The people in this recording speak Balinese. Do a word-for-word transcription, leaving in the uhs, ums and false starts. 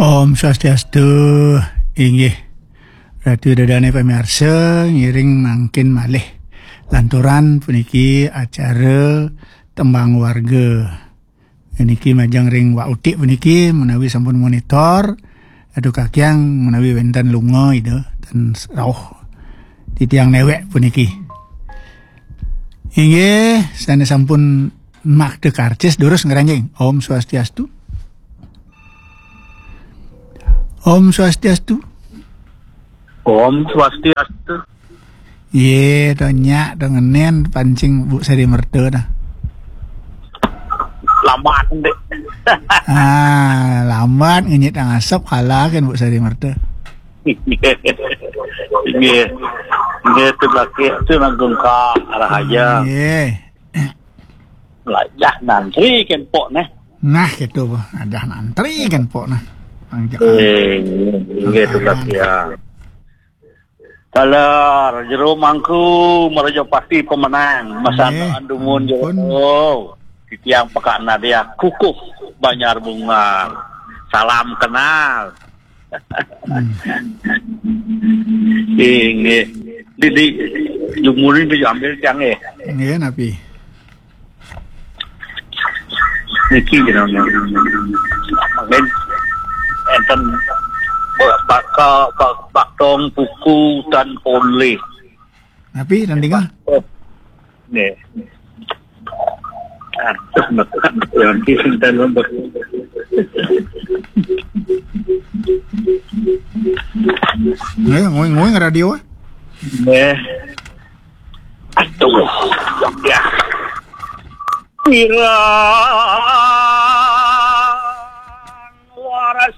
Om Swastiastu, inggih. Ratu ida dané pamiarsa, ngiring mangkin malih. Lanturan puniki acara tembang warga. Niki majeng ring Wak Utik puniki menawi sampun monitor. Aduh kakiang menawi wénten lunga ida tan rauh. Titiang néwék puniki. Inggih, sané sampun makta karcis durus ngranjing. Om Swastiastu. Om Swastiastu. Om Swastiastu. Yé, to nyak, to ngenén pancing Bu Sari Merta dah. Lambat, Dek. Ah, lambat ngenyit ngasep kalah kan Bu Sari Merta. Nggih. Nggih, tu laki tu nanggung ka arah aja. Nggih. Lajah nantri kan pok neh. Nah, gitu, Bu. Ada nantri kan pok nah. Pang cekal. Eh, nggih, tu laki ya. Taler, jero mangku, meraja pasti pemenang. Masana andumun jero. Titiang Pekak Nadia, kukuh Banjar Bunga. Salam kenal. Hmm. Inggih. Di, di, jumuri di ambil tiang, eh. Nggih, napi? Niki jenengan. Amin. Enten baka, bak-, baktong puku tan polih. Napi, tan tinggal? Oh. Nih. Aduh, nekan. Yang di sini lembut. Nggih, nguing-nguing radio, eh. Nggih. Aduh, ya. Pirang waras